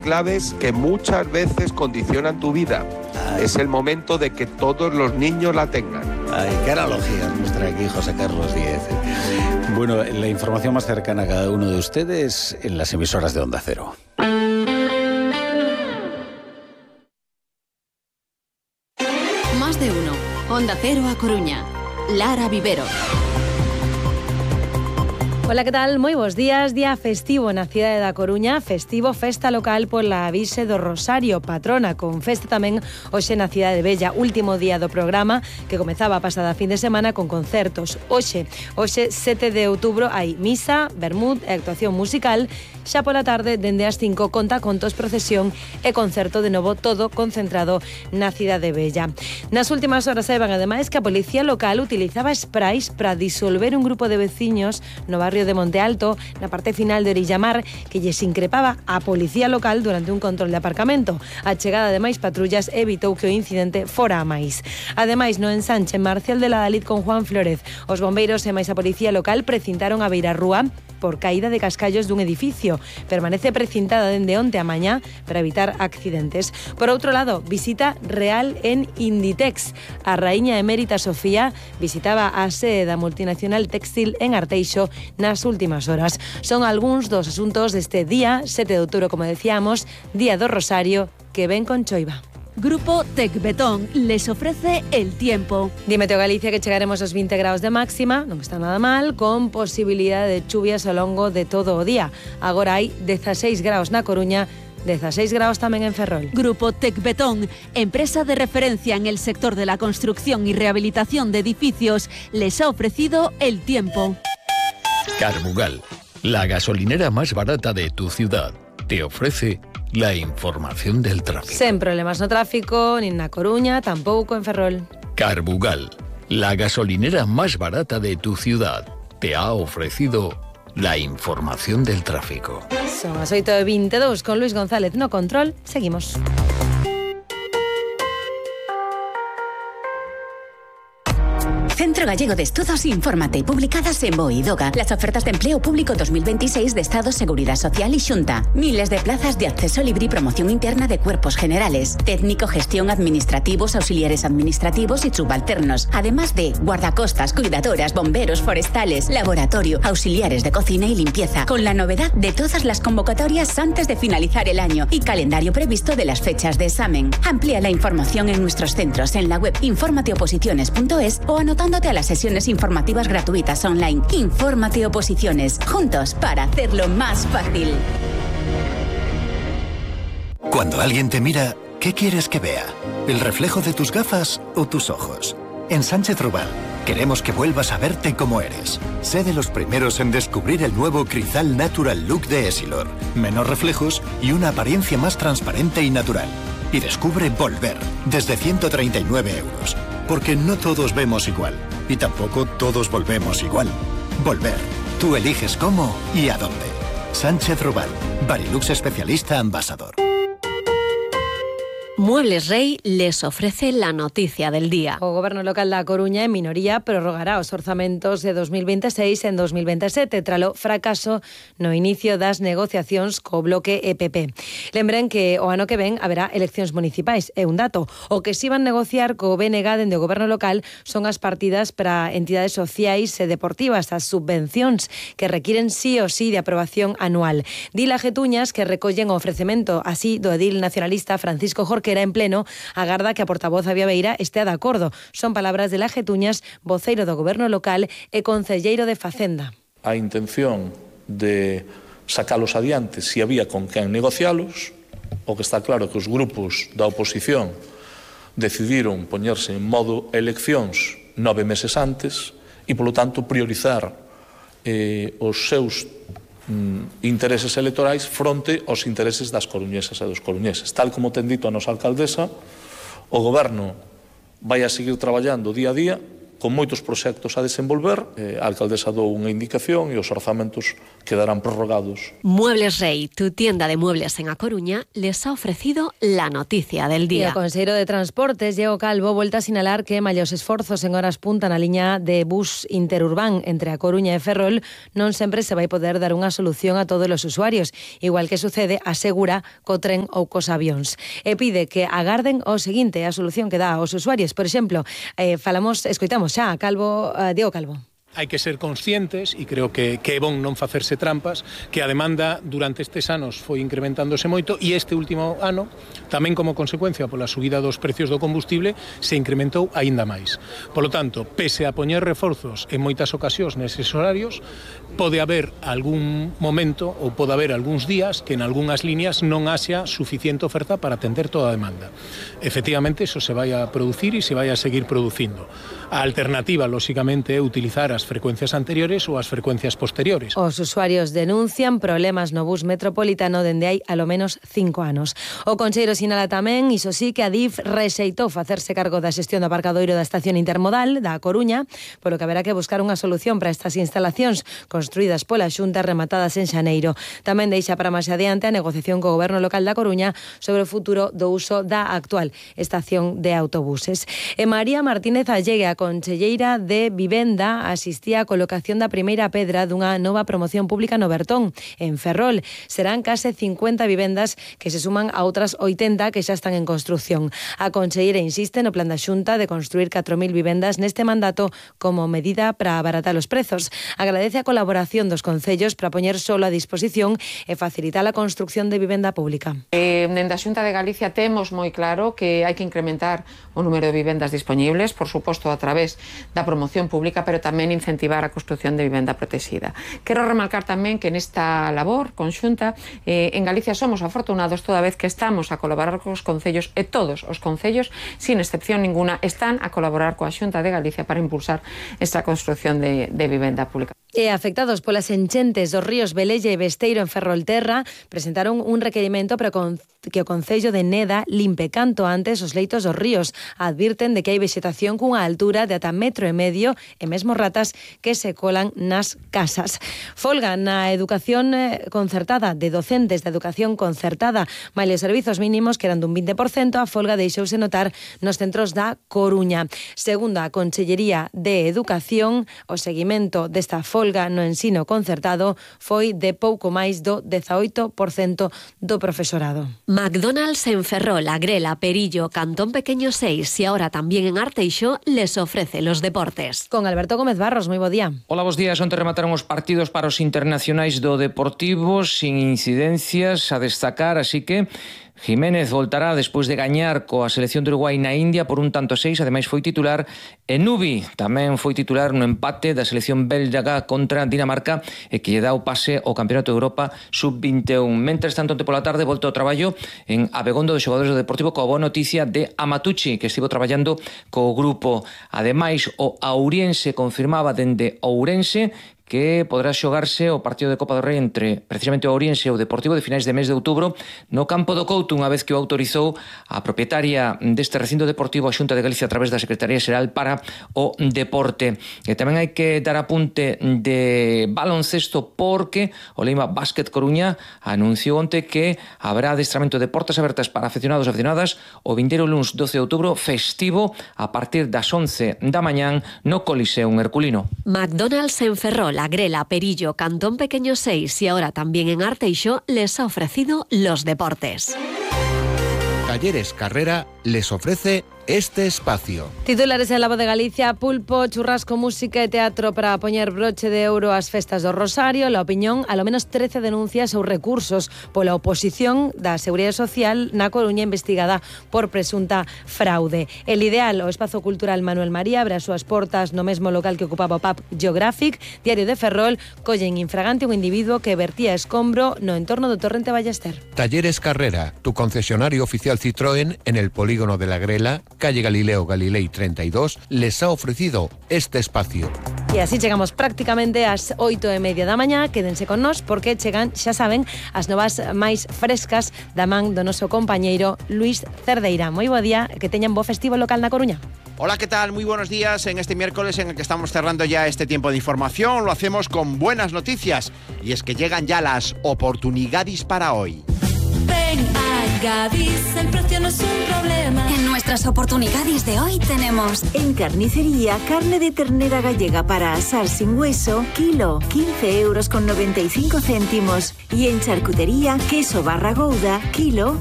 claves que muchas veces condicionan tu vida. Es el momento de que todos los niños la tengan. Ay, qué analogía nos trae aquí José Carlos Díez. Bueno, la información más cercana a cada uno de ustedes en las emisoras de Onda Cero. Más de uno. Onda Cero A Coruña. Lara Vivero. Ola, que tal? Moi bons días. Día festivo na cidade da Coruña, festivo festa local pola Virxe do Rosario, patrona, con festa tamén hoxe na cidade Bella, último día do programa que comezaba a pasada fin de semana con concertos. Hoxe 7 de outubro, hai misa, vermut e actuación musical. Xa pola tarde, dende as 5, contacontos, procesión e concerto de novo, todo concentrado na cidade Bella. Nas últimas horas saiban ademais que a policía local utilizaba sprays para disolver un grupo de veciños no barrio de Monte Alto, na parte final de Orillamar, que lles increpaba a policía local durante un control de aparcamento. A chegada de máis patrullas evitou que o incidente fora a máis. Ademais, no ensanche Marcial de la Dalit con Juan Flórez, os bombeiros e máis a policía local precintaron a beirarrúa por caída de cascallos dun edificio. Permanece precintada dende onte a mañá para evitar accidentes. Por outro lado, visita real en Inditex. A raíña emérita Sofía visitaba a sede da multinacional textil en Arteixo nas últimas horas. Son algúns dos asuntos deste día, 7 de outubro, como decíamos, Día do Rosario, que ven con choiva. Grupo Tecbetón les ofrece el tiempo. Dime, Galicia, que chegaremos aos 20 graus de máxima, non está nada mal, con posibilidade de chuvias ao longo de todo o día. Agora hai 16 graus na Coruña, 16 graus tamén en Ferrol. Grupo Tecbetón, empresa de referencia en el sector de la construcción y rehabilitación de edificios, les ha ofrecido el tiempo. Carbugal, la gasolinera más barata de tu ciudad, te ofrece la información del tráfico. Sen problemas no tráfico, nin na Coruña, tampouco en Ferrol. Carbugal, la gasolinera más barata de tu ciudad, te ha ofrecido la información del tráfico. Son as 8:22 con Luis González no control. Seguimos. Centro Gallego de Estudos, infórmate. Publicadas en BOE y DOGA. Las ofertas de empleo público 2026 de Estado, Seguridad Social y Xunta. Miles de plazas de acceso libre y promoción interna de cuerpos generales. Técnico, gestión, administrativos, auxiliares administrativos y subalternos. Además de guardacostas, cuidadoras, bomberos, forestales, laboratorio, auxiliares de cocina y limpieza. Con la novedad de todas las convocatorias antes de finalizar el año y calendario previsto de las fechas de examen. Amplía la información en nuestros centros en la web informateoposiciones.es o anotándote a las sesiones informativas gratuitas online. Infórmate Oposiciones, juntos para hacerlo más fácil. Cuando alguien te mira, ¿qué quieres que vea? ¿El reflejo de tus gafas o tus ojos? En Sánchez Rubal queremos que vuelvas a verte como eres. Sé de los primeros en descubrir el nuevo Crizal Natural Look de Essilor. Menos reflejos y una apariencia más transparente y natural. Y descubre Volver, desde 139 euros. Porque no todos vemos igual. Y tampoco todos volvemos igual. Volver. Tú eliges cómo y a dónde. Sánchez Rubal. Barilux especialista ambasador. Muebles Rey les ofrece la noticia del día. O Goberno local da Coruña, en minoría, prorrogará os orzamentos de 2026 en 2027 tralo fracaso no inicio das negociacións co bloque EPP. Lembren que o ano que ven haberá eleccións municipais. É un dato. O que si van negociar co BNG dende o Goberno local son as partidas para entidades sociais e deportivas, as subvencións que requiren sí o sí de aprobación anual. Dila Getuñas, que recollen o ofrecemento así do edil nacionalista Francisco Jorquera en pleno, agarda que a portavoz Avia Beira estea de acordo. Son palabras de La Getuñas, voceiro do Goberno local e concelleiro de Facenda. A intención de sacalos adiante se había con quen negocialos, o que está claro que os grupos da oposición decidiron poñerse en modo eleccións 9 meses antes e, polo tanto, priorizar os seus intereses electorais fronte aos intereses das coruñesas e dos coruñeses. Tal como ten dito a nosa alcaldesa, o Goberno vai a seguir traballando día a día con moitos proxectos a desenvolver. A alcaldesa dou unha indicación e os orzamentos quedarán prorrogados. Muebles Rey, tu tienda de muebles en A Coruña, les ha ofrecido la noticia del E día. o Conselleiro de Transportes, Diego Calvo, volta a sinalar que mallos esforzos en horas punta na liña de bus interurbán entre A Coruña e Ferrol non sempre se vai poder dar unha solución a todos os usuarios, igual que sucede, asegura, co tren ou cos avións. E pide que agarden o seguinte, a solución que dá aos usuarios. Por exemplo, escoitamos xa a Diego Calvo. Hai que ser conscientes, e creo que é bon non facerse trampas, que a demanda durante estes anos foi incrementándose moito e este último ano, tamén como consecuencia pola subida dos precios do combustible, se incrementou aínda máis. Polo tanto, pese a poñer reforzos en moitas ocasións neses horarios, pode haber algún momento ou pode haber algúns días que en algunhas líneas non haxa suficiente oferta para atender toda a demanda. Efectivamente, eso se vai a producir e se vai a seguir producindo. A alternativa, lóxicamente, é utilizar as frecuencias anteriores ou as frecuencias posteriores. Os usuarios denuncian problemas no bus metropolitano dende hai alo menos 5 anos. O Conselleiro sinala tamén, iso sí, que a DIF rexeitou facerse cargo da xestión do aparcadoiro da estación intermodal da Coruña, polo que haberá que buscar unha solución para estas instalacións construídas pola Xunta rematadas en xaneiro. Tamén deixa para máis adiante a negociación co Goberno local da Coruña sobre o futuro do uso da actual estación de autobuses. E María Martínez Allegue, a conselleira de Vivenda, asistía á colocación da primeira pedra dunha nova promoción pública no Bertón, en Ferrol. Serán case 50 vivendas que se suman a outras 80 que xa están en construción. A conselleira insiste no plan da Xunta de construir 4.000 vivendas neste mandato como medida para abaratar os prezos. Agradece a colaboración dos concellos para poñer solo a disposición e facilitar a construcción de vivenda pública. Dende a Xunta de Galicia temos moi claro que hai que incrementar o número de vivendas disponibles, por suposto a través da promoción pública, pero tamén incentivar a construción de vivenda protexida. Quero remarcar tamén que nesta labor conxunta en Galicia somos afortunados toda vez que estamos a colaborar cos concellos, e todos os concellos, sin excepción ninguna, están a colaborar coa Xunta de Galicia para impulsar esta construción de vivenda pública. E afectados polas enchentes dos ríos Velella e Besteiro en Ferrolterra presentaron un requerimento para que o Concello de Neda limpe canto antes os leitos dos ríos. Advirten de que hai vexetación cunha altura de ata 1,5 metros e mesmo ratas que se colan nas casas. Folga na educación concertada de docentes da educación concertada. Malia os servizos mínimos que eran dun 20%, a folga deixouse notar nos centros da Coruña. Segundo a Consellería de Educación, o seguimento desta folga no ensino concertado foi de pouco máis do 18% do profesorado. McDonald's en Ferrol, Agrela, Perillo, Cantón Pequeño 6 y ahora también en Arteixo les ofrece los deportes. Con Alberto Gómez Barros, moi bo día. Hola, bos días. Onte remataron os partidos para os internacionais do Deportivo sin incidencias a destacar, así que Jiménez voltará despois de gañar coa selección de Uruguai na India por 1-6, ademais foi titular. E Nubi tamén foi titular no empate da selección belga contra Dinamarca e que lle dá o pase ao Campeonato de Europa Sub-21. Mentres tanto, onte pola tarde volta ao traballo en Abegondo de xogadores do Deportivo coa boa noticia de Amatucci, que estivo traballando co grupo. Ademais, o Auriense confirmaba dende Ourense que poderá xogarse o partido de Copa do Rei entre precisamente o Ourense e o Deportivo de finais de mes de outubro no campo do Couto, unha vez que o autorizou a propietaria deste recinto deportivo, a Xunta de Galicia, a través da Secretaría Xeral para o Deporte. E tamén hai que dar apunte de baloncesto porque o Leima Básquet Coruña anunciou onte que haberá adestramento de portas abertas para afeccionados e afeccionadas o vindeiro luns 12 de outubro festivo a partir das 11 da mañán no Coliseum Herculino. McDonald's en Ferrol, Agrela, Perillo, Cantón Pequeño 6 y ahora también en Arteixo les ha ofrecido los deportes. Talleres Carrera les ofrece este espacio. Titulares en La Voz de Galicia: pulpo, churrasco, música e teatro para poñer broche de ouro ás festas do Rosario. La Opinión, alo menos 13 denuncias ou recursos pola oposición da Seguridade Social na Coruña investigada por presunta fraude. El Ideal, o espazo cultural Manuel María, abre as súas portas no mesmo local que ocupaba o Pub Geographic. Diario de Ferrol, collen infragante un individuo que vertía escombro no entorno do Torrente Ballester. Talleres Carrera, tu concesionario oficial Citroën en el polígono de la Grela, calle Galileo Galilei 32, les ha ofrecido este espacio. E así chegamos prácticamente ás 8:30 da mañá. Quédense con nós porque chegan, xa saben, as novas máis frescas da man do noso compañeiro Luís Cerdeira. Moi bo día, que teñan bo festivo local na Coruña. Hola, ¿qué tal? Muy buenos días en este miércoles en el que estamos cerrando ya este tiempo de información. Lo hacemos con buenas noticias y es que llegan ya las oportunidades para hoy. Ven a Gadis, el precio no es un problema. En nuestras oportunidades de hoy tenemos en carnicería carne de ternera gallega para asar sin hueso, kilo, 15,95 €. Y en charcutería queso barra Gouda, kilo,